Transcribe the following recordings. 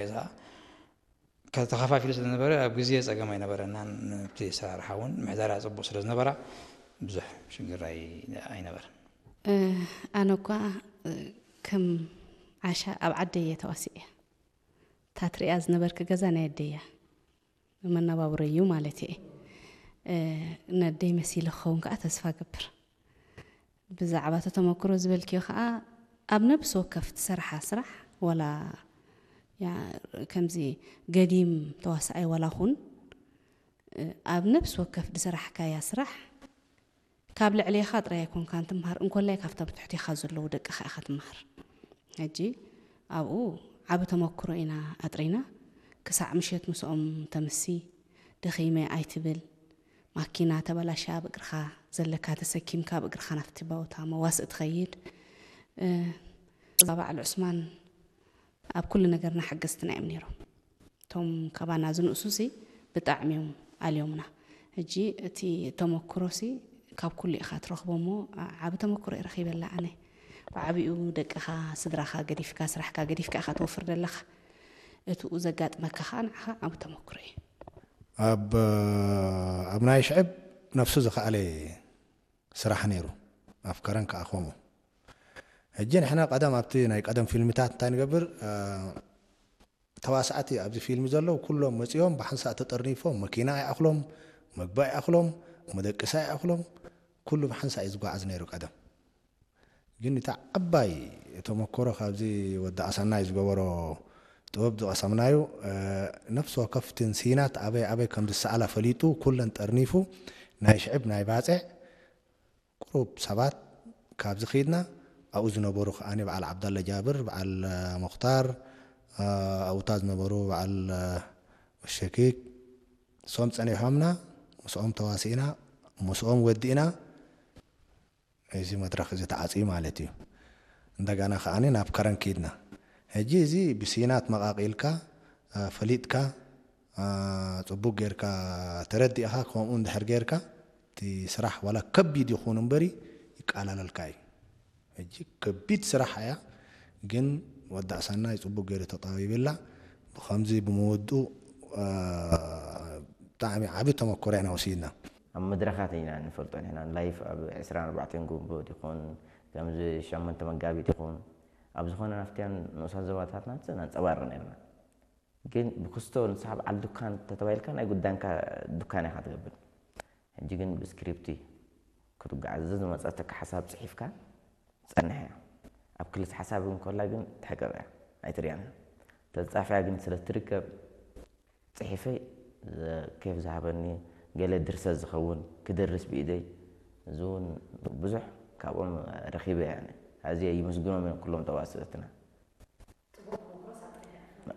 ገዛ ከተኸፋፊሉ ስለ ዝነበረ ኣብ ግዜ ጸገም ኣይነበረናን። ነቲ ኣሰራርሓ እውን ምሕደራ ጽቡቕ ስለ ዝነበራ ብዙሕ ሽግር ኣይ-፣ ኣይነበረን። እ፣ ኣነ እኳ፣ እ፣ ከም ዓሻ ኣብ ዓደይ እየ ተዋሲኤ። እታ ትሪኣ ዝነበርኪ ገዛ ናይ ኣደይ እያ። መነባብሮይ እዩ ማለት እየ። እ፣ ነደይ መሲለ ክኸውን ከዓ ተስፋ ገብር። ብዛዕባ እቲ ተመክሮ ዝበልክዮ ከዓ ኣብ ነብሲ ወከፍ ትሰርሓ ስራሕ፣ ዋላ ያ-፣ ከምዚ ገዲም ተዋሳኣይ ዋላ ኩን፣ እ፣ ኣብ ነብሲ ወከፍ ዝሰራሕካያ ስራሕ ካብ ልዕሌኻ ጥራይ ኣይኮንካን ትምሃር፣ እንኮላይ ካብቶም ትሕቴኻ ዘለዉ ደቅኻ ኢኻ ትምሃር። ሕጂ ኣብኡ ዓቢ ተመክሮ ኢና ኣጥሪና። ክሳዕ ምሸት ምስኦም ተምሲ፣ ደኺመ ኣይትብል። ማኪና ተበላሽያ ኣብ እግርኻ ዘለካ ተሰኪምካ ኣብ እግርኻ ናብቲ ቦታ መዋስእ ትኸይድ። እ፣ እዛ በዓል ዑስማን ኣብ ኩሉ ነገርና ሓገዝትና እዮም ነይሮም። እቶም ካባና ዝንእሱሲ ብጣዕሚ እዮም ኣልዮምና። ሕጂ እቲ ተመክሮሲ ካብ ኩሉ ኢኻ ትረኽቦ እሞ፣ ዓ-፣ ዓቢ ተመክሮ እየ ረኺበላ ኣነ። ብዓቢኡ ደቅኻ፣ ስድራኻ ገዲፍካ፣ ስራሕካ ገዲፍካ ኢኻ ትወፍር ዘለኻ። እቲኡ ዘጋጥመካ ኸኣ ንዓኻ ዓቢ ተመክሮ እዩ። ኣብ፣ ኣብ ናይ ሽዕብ ነፍሱ ዝኸኣለ ስራሕ ነይሩ። ኣብ ከረን ከኣ ከምኡ። ሕጂ ንሕና ቀደም ኣብቲ ናይ ቀደም ፊልምታት እንታይ ንገብር? እ፣ ተዋሳእቲ ኣብዚ ፊልም ዘለዉ ኩሎም መጺኦም ብሓንሳእ ተጠርኒፎም፣ መኪና ይኣኽሎም፣ መግቢ ይኣኽሎም፣ መደቀሲ ይኣኽሎም፣ ኩሉ ብሓንሳእ እዩ ዝጓዓዝ ነይሩ ቀደም። ግን እታ ዓባይ ተመክሮ ካብዚ ወዲ ኣሰናይ ዝገበሮ ጥበብ ዝቐሰምናዮ፣ እ፣ ነፍሲ ወከፍ እተን ሲናት ኣበይ ኣበይ ከም ዝሰኣላ ፈሊጡ፣ ኩለን ጠርኒፉ፣ ናይ ሽዕብ ናይ ባጽዕ ቁሩብ ሰባት ካብዚ ከይድና ኣብኡ ዝነበሩ ከኣ በዓል ዓብዳለ ጃብር፣ በዓል፣ እ፣ ሙኽታር፣ እ፣ ኣብኡታ ዝነበሩ በዓል፣ እ፣ ሸኪክ፣ ንሶም ጸኒሖምና፣ ምስኦም ተዋሲእና፣ ምስኦም ወዲእና፣ እዚ መድረኽ እዚ ተዓጽዩ ማለት እዩ። እንደገና ከኣ ናብ ከረን ከይድና። ሕጂ እዚ ብሲናት መቓቒልካ፣ እ፣ ፈሊጥካ፣ እ፣ ጽቡቕ ጌርካ ተረዲእኻ፣ ከምኡ እንድሕር ጌርካ፣ እቲ ስራሕ ዋላ ከቢድ ይኹን እምበሪ ይቃላለልካ እዩ። ሕጂ ከቢድ ስራሕ እያ፣ ግን ወዲ ኣሰናይ ጽቡቕ ገይሩ ተጣቢብላ። ብኸምዚ ብምውድኡ፣ እ፣ ብጣዕሚ ዓቢ ተመክሮ ኢና ወሲድና። ኣብ መድረኻት ኢና ንፈልጦ ንሕና፣ ላይፍ ኣብ ዕስራን ኣርባዕተን ጉንቦት ይኹን፣ ከምዚ ሸሞንተ መጋቢት ይኹን፣ ኣብ ዝኾነ ናፍትያን ንኡሳት ዞባታትና ኣንጸባርቕ ነርና። ግን ብክስቶ ንስኻ በዓል ዱካን ተተባሂልካ ናይ ጉዳንካ ዱካን ኢኻ ትገብር። ሕጂ ግን ብስክሪፕት እዩ ክትጓዓዝ። ዝመጸተካ ሓሳብ ጽሒፍካ ጸንሕ እያ። ኣብ ክልተ ሓሳብ እንከላ ግን ትሕቅቕ እያ፣ ኣይትርእያን እያ። ተጻፊያ ግን ስለ ትርከብ ጽሒፈይ ዘ-፣ ኬፍ ዝሃበኒ ገለ ድርሰት ዝኸውን ክደርስ ብኢደይ፣ እዚ እውን ብዙሕ ካብኦም ረኺበ እየ ኣነ። ኣዝየ ይምስግኖም እዮም ኩሎም ተዋስእትና።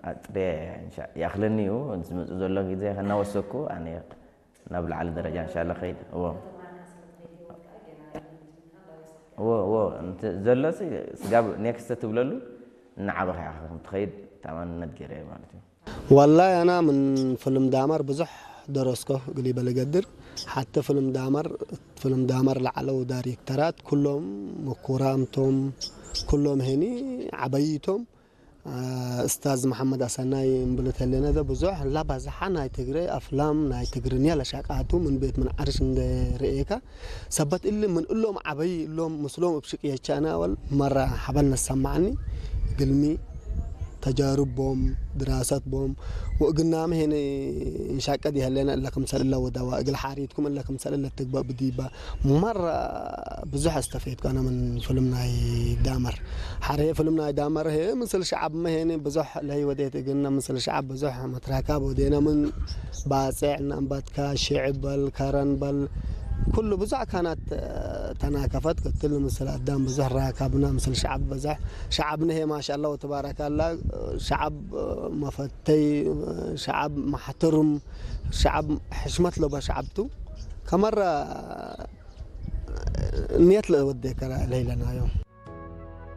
ኣጥርየ እንሻ-፣ ይኣኽለኒ እዩ። ዝመጽእ ዘሎ ግዜ ከናወሰኩ ኣነ ናብ ላዕሊ ደረጃ እንሻላ ኸይድ። እዎ። እዎ፣ እዎ። እንት-፣ ዘሎሲ ስጋብ ኔክስት ትብለሉ እናዓበኻ ኢኻ ከም ትኸይድ ተኣማንነት ገይረ እየ ማለት እዩ። والله أنا من فيلم دامر ብዙሕ ደረስኮ እግል ይበል እገድር። ሓቲ ፍልም ዳመር፣ ፍልም ዳመር ላዕለው ዳይሬክተራት ኩሎም ምኩራምቶም፣ ኩሎም ሄኒ ዓበይቶም፣ አ፣ እስታዝ መሓመድ ኣሰናይ እምብል ተለና ደ ብዙሕ ላባዝሓ ናይ ትግረ ኣፍላም ናይ ትግርኛ ለሻቃቱ ምን ቤት ምን ዓርሽ እንደ ርእየካ ሰባት እሊ ምን እሎም ዓበይ እሎም ምስሎም እብ ሽቅየቻና ወል መራ ሓበል ነሰማዕኒ ግልሚ ተጃርቦም ድራሰት ቦም ወእግና መሄነ እንሻቀድ ይህለና እለ ክምሰል እለ ወዳዋ እግል ሓሪትኩም እለ ክምሰል እለ ትግባእ ብዲባ መራ ብዙሕ ኣስተፈየትኩ ኣነ ምን ፍልም ናይ ዳመር ሓረ ፍልም ናይ ዳመር ሄ ምስል ሸዓብ መሄነ ብዙሕ ለይ ወዴት እግና ምስል ሸዓብ ብዙሕ መትራካብ ወዴና ምን ባጽዕ እናንባትካ ሽዕብ በል ከረን በል ኩሉ ብዙሕ ካናት ተናከፈት ክትል ምስል ኣዳም ብዙሕ ራካብና ምስል ሸዓብ ብዙሕ ሸዓብ ነሄ ማሻላ ወተባረካላ ሸዓብ መፈተይ ሸዓብ ማሕተሩም ሸዓብ ሕሽመት ለባ ሸዓብቱ ከመራ ንየት ለወደ ከራ ለይለናዮ።